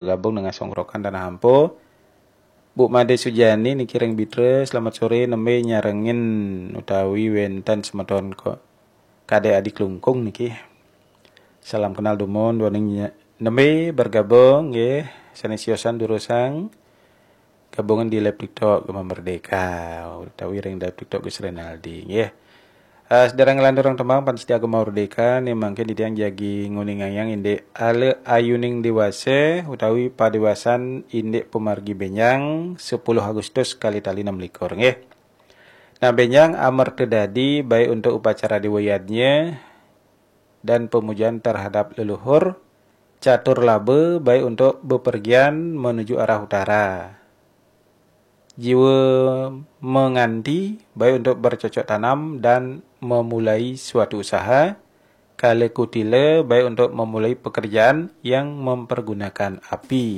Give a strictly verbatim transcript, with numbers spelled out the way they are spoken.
gabung dengan Songkrokan Tanah Ampo. Bu Made Sujani niki ring Bitra, selamat sore, nembe nyarengin utawi wenten semeton ko Kadek Adi Klungkung niki. Salam kenal dumun, duaning nya-, nembe bergabung nggih, sane siosan durusang gabungan di live TikTok Gema Merdeka utawi ring live TikTok Gus Renaldi nggih. Uh, sedereng nglanturang tembang pan setia Gema Merdeka, ne mangkin titiang jagi nguningayang indik Ale Ayuning Dewasa utawi Padewasan Indik Pamargi Benjang, sepuluh Agustus kali tali enam likur nggih. Nah, benjang amerta dadi baik untuk upacara Dewa Yadnya dan pemujaan terhadap leluhur, catur laba baik untuk bepergian menuju arah utara. Jiwa menganti baik untuk bercocok tanam dan memulai suatu usaha, kala kutila baik untuk memulai pekerjaan yang mempergunakan api.